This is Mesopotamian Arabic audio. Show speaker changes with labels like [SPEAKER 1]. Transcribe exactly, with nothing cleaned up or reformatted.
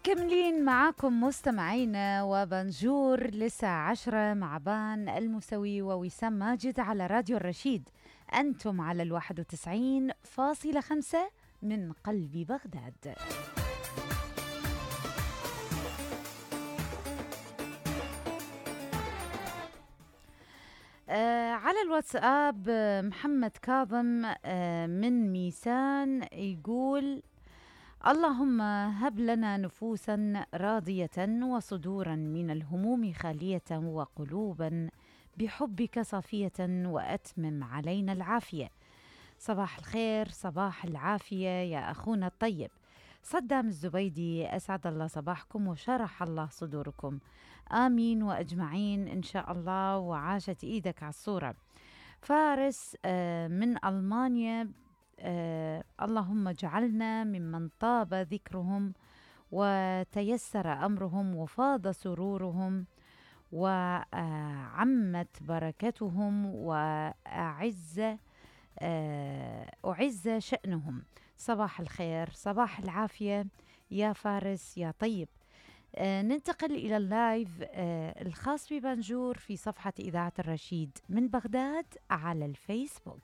[SPEAKER 1] مكملين معاكم مستمعينا وبنجور للساعة عشرة مع بان المسوي ووسام ماجد على راديو الرشيد. أنتم على الواحد وتسعين فاصلة خمسة من قلب بغداد. آه على الواتساب آه محمد كاظم آه من ميسان يقول: اللهم هب لنا نفوسا راضية وصدورا من الهموم خالية وقلوبا بحبك صافية وأتمم علينا العافية. صباح الخير، صباح العافية يا أخونا الطيب. صدام الزبيدي: أسعد الله صباحكم وشرح الله صدوركم. آمين وأجمعين إن شاء الله، وعاشت إيدك على الصورة. فارس آه من ألمانيا: آه اللهم اجعلنا ممن طاب ذكرهم وتيسر أمرهم وفاض سرورهم وعمت بركتهم وأعز آه أعز شأنهم. صباح الخير، صباح العافية يا فارس يا طيب. آه ننتقل إلى اللايف آه الخاص ببنجور في صفحة إذاعة الرشيد من بغداد على الفيسبوك.